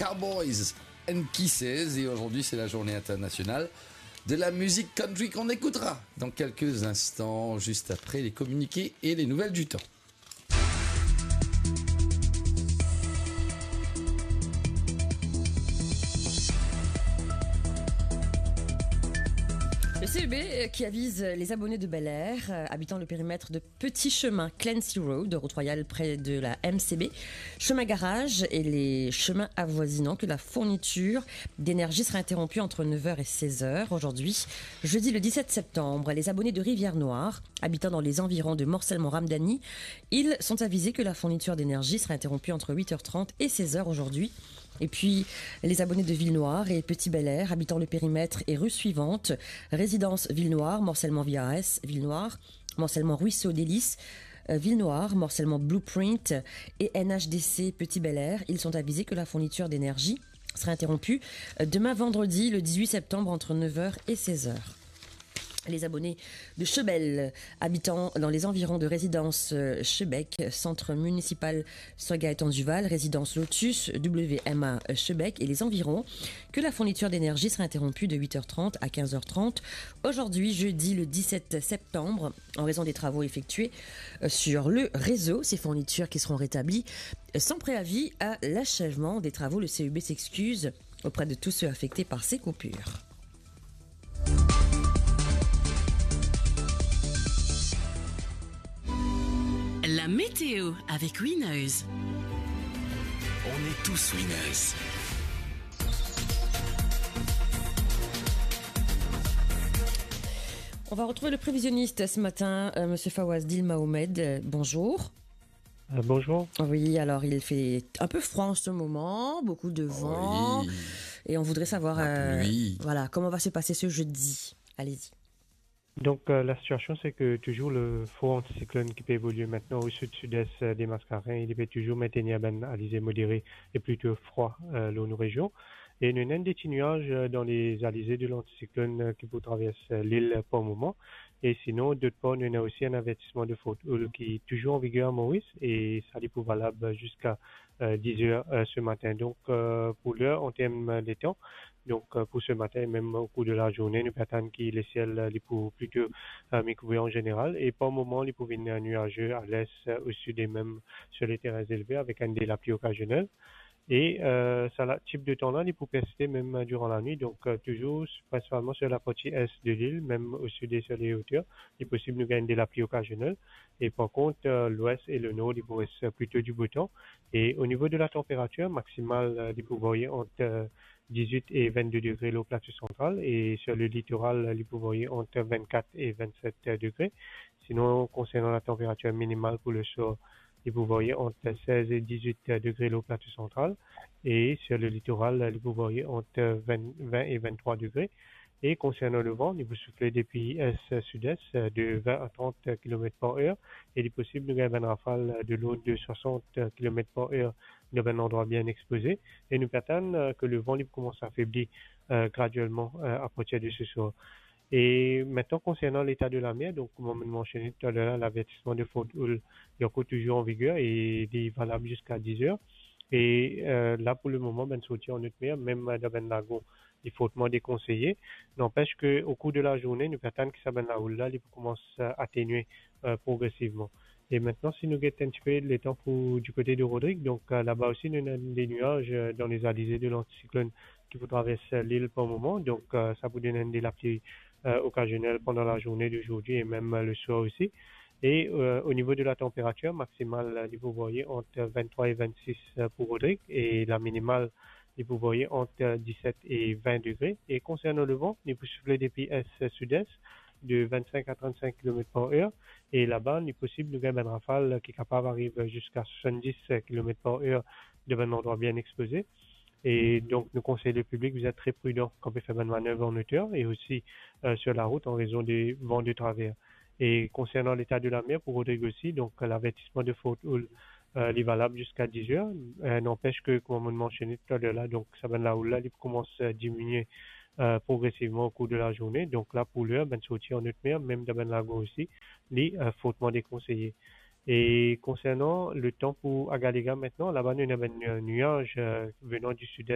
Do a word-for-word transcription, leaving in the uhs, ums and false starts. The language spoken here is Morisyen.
Cowboys and Kisses, et aujourd'hui c'est la journée internationale de la musique country qu'on écoutera dans quelques instants, juste après les communiqués et les nouvelles du temps. Le C E B, euh, qui avise les abonnés de Bel Air, euh, habitant le périmètre de Petit Chemin, Clancy Road, route royale près de la M C B, Chemin Garage et les chemins avoisinants, que la fourniture d'énergie sera interrompue entre neuf heures et seize heures aujourd'hui, jeudi le dix-sept septembre. Les abonnés de Rivière-Noire, habitant dans les environs de Morcellement-Ramdani, ils sont avisés que la fourniture d'énergie sera interrompue entre huit heures trente et seize heures aujourd'hui. Et puis, les abonnés de Ville-Noire et Petit Bel Air, habitant le périmètre et rue suivante, résidence Ville-Noire, Morcellement V R S, Ville-Noire, Morcellement Ruisseau Délices, euh, Ville-Noire, Morcellement Blueprint et N H D C Petit Bel Air, ils sont avisés que la fourniture d'énergie sera interrompue, euh, demain vendredi, le dix-huit septembre, entre neuf heures et seize heures. Les abonnés de Chebel, habitant dans les environs de résidence, euh, Chebec, centre municipal Sir Gaëtan Duval, résidence Lotus, W M A Chebec et les environs, que la fourniture d'énergie sera interrompue de huit heures trente à quinze heures trente aujourd'hui, jeudi le dix-sept septembre, en raison des travaux effectués, euh, sur le réseau. Ces fournitures qui seront rétablies, euh, sans préavis à l'achèvement des travaux. Le C E B s'excuse auprès de tous ceux affectés par ces coupures. La météo avec Winners. On est tous winners. On va retrouver le prévisionniste ce matin, euh, monsieur Fawaz Dil Mahomed. Euh, bonjour. Euh, bonjour. Oui, alors il fait un peu froid en ce moment, beaucoup de vent, oui, et on voudrait savoir, la, euh, pluie, voilà, comment va se passer ce jeudi. Allez-y. Donc, euh, la situation, c'est que toujours le front anticyclone qui peut évoluer maintenant au sud-sud-est, euh, des Mascareignes, il peut toujours maintenir ben alizé modéré et plutôt froid, euh, dans nos régions. Et nous avons des petits nuages, euh, dans les alizés de l'anticyclone, euh, qui peut traverser l'île pour le moment. Et sinon, d'autre part, nous avons aussi un avertissement de forte houle qui est toujours en vigueur à Maurice et ça, il est valable jusqu'à euh, dix heures, euh, ce matin. Donc, euh, pour l'heure, en termes de temps, donc, euh, pour ce matin, même au cours de la journée, nou pe atann ki lesiel, euh, li pou plito, euh, miye kouvri an zeneral. E par moman, li pou vinn, euh, nuaze a les, euh, au sud e mem sur les terrains élevés avec enn de lapli okazionel. E, euh, sa la, tip de tan la, li pou persiste mem, euh, durant la nuit. Donc, euh, toujours prinsipalman sur la partie est de l'île, mem au sud et sur les hauteurs, li posib nou gagn de lapli okazionel. E par kont, euh, lwes e lenor, li pou res plito di bo tan. E o nivo de la tanperatir, maksimal, euh, li pou varye ant, euh, dix-huit e vingt-deux degre lor plato santral e sur le litoral, euh, li pou varye ant vingt-quatre e vingt-sept degre. Sinon, konsernan la tanperatir minimal pou le swar, li pou varye ant seize e dix-huit degre lor plato santral e sur le litoral, li pou varye ant vingt, vingt e vingt-trois degre. E konsernan le van, li pou soufle depi est-sud-est, euh, de vingt à trente kilomètres par heure, e li posib nou gagn bann rafal, euh, de l'ordre de soixante kilomètres par heure dan bann landrwa bien expoze. E nou pe atann, euh, ke le van li pou koumans afebli, euh, graduelman, euh, a partir de ce soir. E mintenan, konsernan leta de la mer, donk, kouma mo mansione toutalor la, lavertisman de forte houle, li ankor touzour an viger e li valab ziska dix heures. E, euh, la, pou le moman, bann sorti an haute mer, mem dan bann lagon, li fortman dekonseye. Nanpes ke o kour de lazourne, nou pe atann ki sa bann lahoul la, li pou koumans, euh, atenie, euh, progresivman. E mintenan, si nou get enn tipe letan pou di kote de Rodrig, donk, euh, laba osi, nou ena de nwaz, euh, dan lezalize de lantisiklonn ki pou travers lil par moman. Donk, euh, sa pou donn enn de lapli, euh, okazionel pandan lazourne de zordi e mem, euh, le swar osi. E, euh, o nivo de la tanperatir, maksimal, euh, li pou varye ant venntrwa e vennsis, euh, pou Rodrig, e la minimal, li pou varye ant, euh, diset e vin degre. E konsernan le van, li pou soufle depi est-sud-est, de vinnsink a trannsink kilomet par er. E laba, li posib nou gagn bann rafal ki kapav ariv ziska swasanndis kilomet par er dan bann landrwa bien expoze. E donk, nou konsey le piblik, vous êtes très prudent kan pe fer bann manev an oter e osi, euh, sur la route en raison des vents de travers. E konsernan leta de la mer pou Rodrig osi, donk, lavertisman de forte houle, euh, li valab ziska diz er. Euh, nanpes ke, kouma mo mansione toutalor la, donk, sa bann lahoul la, li pou koumans, euh, diminie, euh, progresivman o kour de lazourne. Donk la, pou ler, bann sorti an haute mer, mem dan bann lagon osi, li, euh, fortman dekonseye. E konsernan le tan pou Agalega mintenan, laba nou ena bann, euh, nwaz, euh, venan di sid-est,